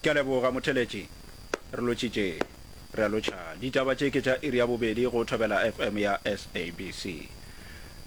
Ke a leboga, motheletši. Re lotšitše. Re a lotšha. Ditaba tše ke tša iri ya bobedi go Thobela FM ya SABC.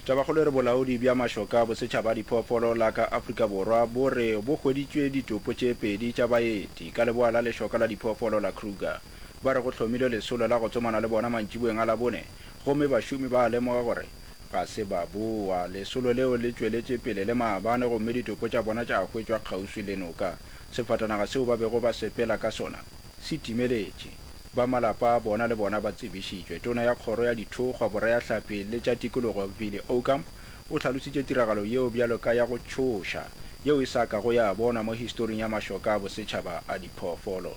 Tabakgolo e re Bolaodi bja Mašoka a Bosetšhaba a Diphoofolo la ka Afrika Borwa bo re bo hweditšwe ditopo tše pedi tša baeti ka leboa la lešoka la diphoofolo la Kruger. Ba re go hlomilwe lesolo la go tsomana le bona mantšiboeng a Labone gomme bašomi ba lemoga gore ga se ba boa. Lesolo leo le tšweletše pele le maabane gomme ditopo tša bona tša hwetšwa kgauswi le noka. Sefatanaga seo ba bego ba sepela ka sona se timeletše. Ba malapa a bona le bona ba tsebišitšwe. Tona ya Kgoro ya Dithokgwa, Boreahlapi le tša Tikologo, Vili Aucamp, o hlalositše tiragalo yeo bjalo ka ya go tšhoša, yeo e sa kago ya bonwa mo historing ya mašoka a bosetšhaba a diphoofolo.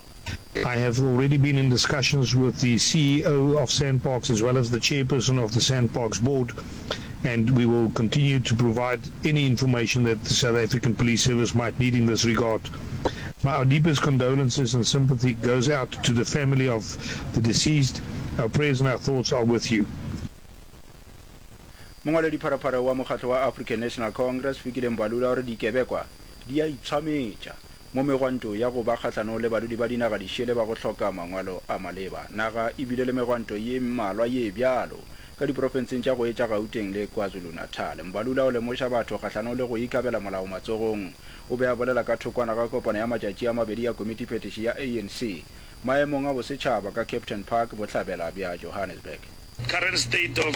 I have already been in discussions with the CEO of SANParks as well as the chairperson of the SANParks board and we will continue to provide any information that the South African Police Service might need in this regard. My our deepest condolences and sympathy goes out to the family of the deceased. Our prayers and our thoughts are with you. Mongwaledipharapara wa mokgatlo wa African National Congress, Fikile Mbalula o re dikebekwa di a itshwametša mo megwanto ya go ba kgahlanong le badudi ba dinaga dišele ba go hloka mangwalo a maleba. Naga e bile le megwanto ye mmalwa ye bjalo ka diprofenseng tša go etša Gauteng le KwaZulu-Natal. Mbalula o lemoša batho kgahlanong le go ikabela molao matsogong. O be a bolela ka thokwana ga kopano ya matšatši a mabedi ya komitiphethiši ya ANC maemong a bosetšhaba ka Kempton Park, bohlabela bja Johannesburg. Current state of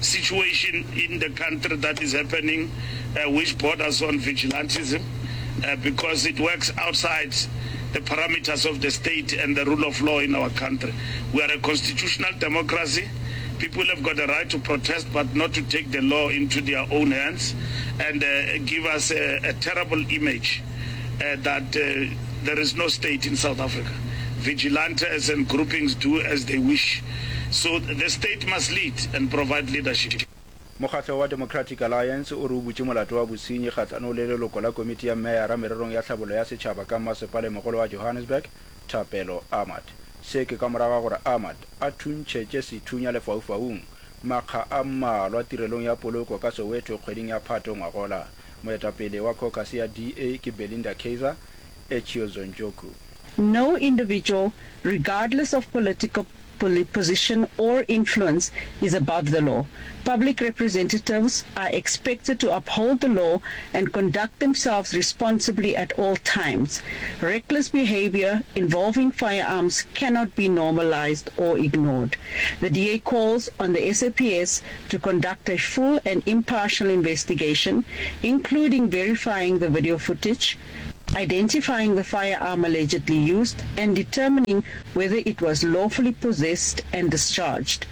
situation in the country that is happening which borders on vigilantism because it works outside the parameters of the state and the rule of law in our country. We are a constitutional democracy. People have got the right to protest but not to take the law into their own hands and give us a, a terrible image that there is no state in South Africa. Vigilantes and groupings do as they wish. So the state must lead and provide leadership. Mokgatlo wa Democratic Alliance o re o butše molato wa bosenyi kgahlanong le leloko la komiti ya meyara mererong ya tlhabollo ya setšhaba ka mmasepalemogolo wa Johannesburg, Thapelo Ahmad. Se ke ka morago ga gore Ahmad a thuntšhetše sethunya lefaufaung makga a mmalwa tirelong ya poloko ka Soweto kgweding ya Phato ngwagola. Moetapele wa caucus ya DA ke Belinda Kayser Echeozonjoku. No individual, regardless of political position or influence, is above the law. Public representatives are expected to uphold the law and conduct themselves responsibly at all times. Reckless behavior involving firearms cannot be normalized or ignored. The DA calls on the SAPS to conduct a full and impartial investigation, including verifying the video footage, identifying the firearm allegedly used, and determining whether it was lawfully possessed and discharged.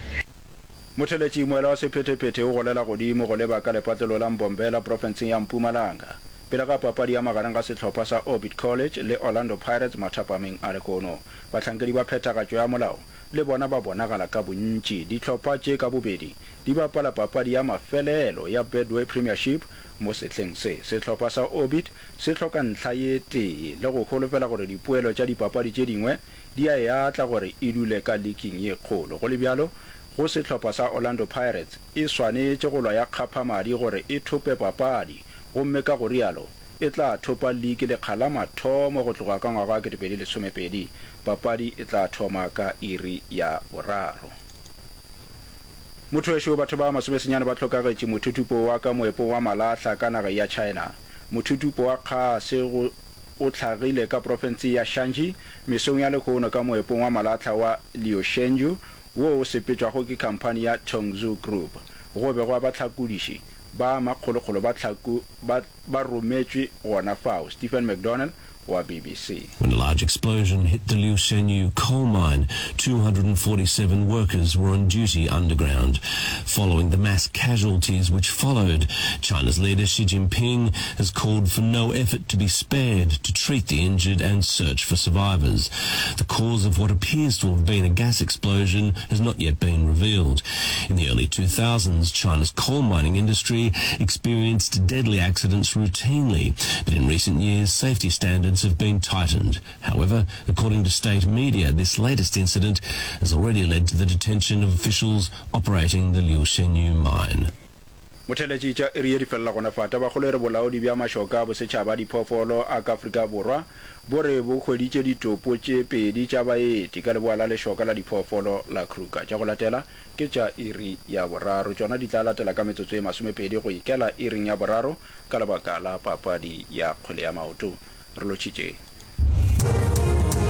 Motheletši moela wa sephethephethe o golela godimo go leba ka lepatlelo la Mbombela profenseng ya Mpumalanga pele ga papadi ya magareng ga sehlopha sa Orbit College le Orlando Pirates mathapameng a lehono. Bahlankedi ba phethagatšo ya molao le bona ba bonagala ka bontši. Dihlopha tše ka bobedi di bapala papadi ya mafelelo ya Betway Premiership mo sehleng se. Sehlopha sa Orbit se hloka ntlha ye tee le go holofela gore dipoelo tša dipapadi tše dingwe di a e atla gore e dule ka liking ye kgolo. Go le bjalo, go sehlopha sa Orlando Pirates e swanetše go lwa ya kgapha madi gore e thope papadi gomme ka go rialo e tla thopa liki lekga la mathomo go tloga ka ngwaga wa 2012. Papadi e tla thoma ka iri ya boraro. Motho wešo, batho ba masomesenyane ba hlokagetše mothuthupo wa ka moepong wa malahla ka nageng ya China. Mothuthupo wa kgase go o hlagile ka profenseng ya Shanxi mesong ya lehono ka moepong wa malahla wa Liushenyu wo o sepetšwago ke khamphani ya Tongzhou Group. Go be gwa bahlakodiši ba makgolokgolo ba hlaku ba ba rometšwe gona fao. Stephen McDonnell wa BBC. When a large explosion hit the Liushenyu coal mine, 247 workers were on duty underground. Following the mass casualties which followed, China's leader Xi Jinping has called for no effort to be spared to treat the injured and search for survivors. The cause of what appears to have been a gas explosion has not yet been revealed. In the early 2000s, China's coal mining industry experienced deadly accidents routinely, but in recent years, safety standards have been tightened. However, according to state media, this latest incident has already led to the detention of officials operating the Liushenyu mine. Motheeletši tša iri ye di felela gona fa. Tabakgolo e re bolaodi bja mašoka a bosetšhaba a diphoofolo a ka Afrika Borwa bo re bo hweditše ditopo tše pedi tša baeti ka leboa la lešoka la diphoofolo la Kruger. Tša go latela ke tša iri ya boraro. Tšona di tla latela ka metsotso ye masomepedi go ikela iring ya boraro ka lebaka la papadi ya kgwele ya maoto. Re lotšhitše.